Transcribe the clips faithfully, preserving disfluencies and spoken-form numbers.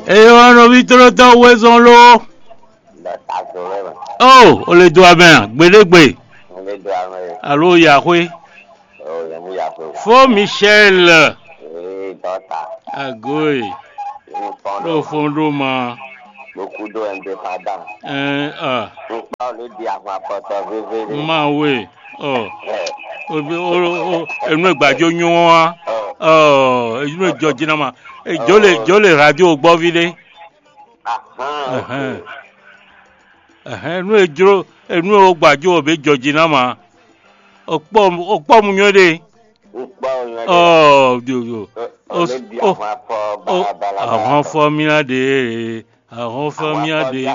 Eye wá nɔví tlɔ́tɔ́ wezɔn ló. Ó, o le dó amɛ a? Gbeɖégbe. Alo yaxwe. Fó Michel. Agoe. Ɖo fɔn ɖo ma. Ɛn, a. Ma we. Ɔ. Enu e gbajɔ nyɔ wa. Ɔ, enu e jɔ jina ma. Jɔ le jɔ le radio gbɔ vi ɖe. Ɛhɛn. Ɛhɛn, enu e jlo enu e wo gbajɔ ɔ be jɔ jina ma. O kpɔ o kpɔ mu nyɔ ɖe. Ɔ, dio dio. O o ahɔn fɔ mi la de. Ahɔn fɔ mi la de.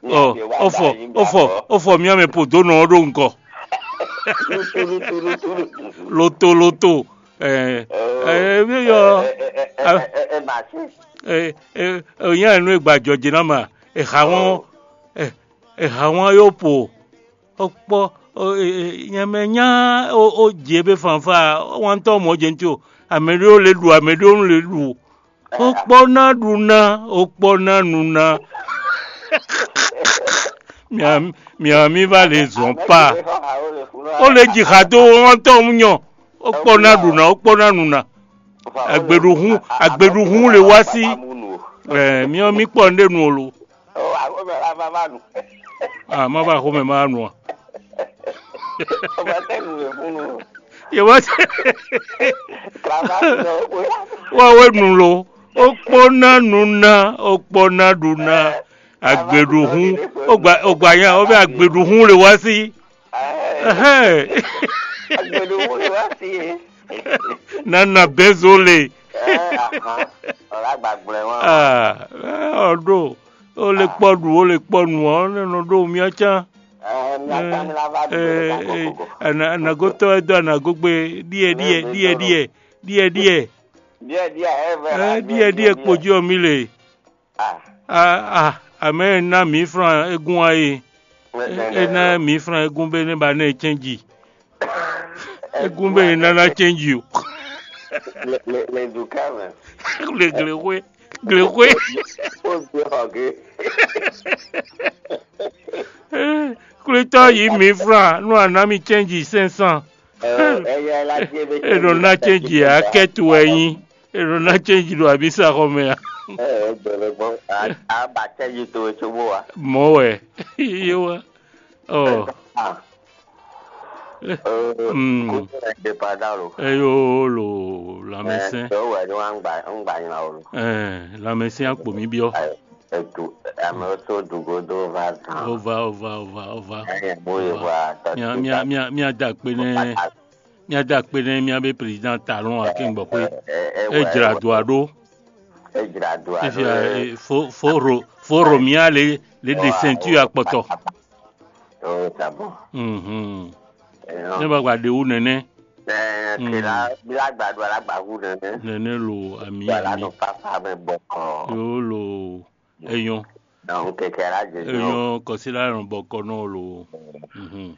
Ɔ, o fɔ o fɔ mi amɛ po do nɔ ɖo ŋkɔ. Loto loto. Ɛ ɛ mi yɔ. Ɛ ɛ nya nu e gbajɔ jina ma. Eha wɔn eha wɔn yo po. Okpɔ nyɛmɛ nya o je be fanfa. Wantɔ mɔ jɛnti o. Amɛɖewo le ɖu amɛɖewo le ɖu. Okpɔ na ɖu na okpɔ na nu na. Mia mia mi va le zɔn pa. O le ji xa do wantɔ mu nyɔ. Okpɔ na ɖu na okpɔ na nu na. Agbeɖuhun agbeɖuhun le wá sí. Ɛ miɔ mi kpɔ nɖe nu o lo. Ah, ma va xomɛ ma nu a. Ye wá. Wa we nu lo. O kpɔ na nu na o kpɔ na ɖu na. Agbeɖuhun. O gba nya o bɛ agbeɖuhun le wá sí. Ɛhɛn. Nana bɛzo le. Ɔɖo o le kpɔ ɖu o le kpɔ nu ɔ ne nɔ ɖo mía can. Anagotɔ e dɔ anagogbe. Ɖiɛ ɖiɛ ɖiɛ ɖiɛ ɖiɛ ɖiɛ. Ɖiɛ ɖiɛ kpojú ɔ mi le. Ah, ah, amɛ ná mǐ flan égún wá e. É ná mǐ flan égún bé né ba ná cɛ́nji. Égún bé ná ná cɛ́nji o. Le le le du ká mɛ. Le glexwe glexwe. O gbé xɔ gé. Kwlítɔ́ yí mǐ flan nú àná mi cɛ́nji sɛnsán. È nɔ ná cɛ́nji ǎ kɛ́tu wɛ nyí. È nɔ ná cɛ́nji ɖo abísaxɔmɛ ǎ. Ɛ ɛ gbɛlɛ gbɔn a a ba cɛ́nji towe cóbó wa. Mɔ̌ wɛ. Yé wá. Ɔ. Ah. Mm. Kótó ɛ dé pa dá lo. Eyo lo lamɛsɛn. Ɛ wɛ ni wa ń gbà ń gbà yín la o lo. Ɛ lamɛsɛn akpo mi biɔ. Etu ame tó dugodo va zan. Ova ova ova ova. Ɛ bó ye va. Mia mia mia mia da akpe nɛ. Mía da akpe nɛ mía be président Talon Akíngbɔxwé. É jlá do aɖó. Fifia fo fo ro fo ro mía le le ɖe ceinture akpɔtɔ. Mhm. Ne ba gba ɖe wu nɛnɛ. Nɛnɛ lo ami ami. Yo lo eyɔn. Eyɔn kɔsila nɔ bɔkɔ nɔ lo. Mhm.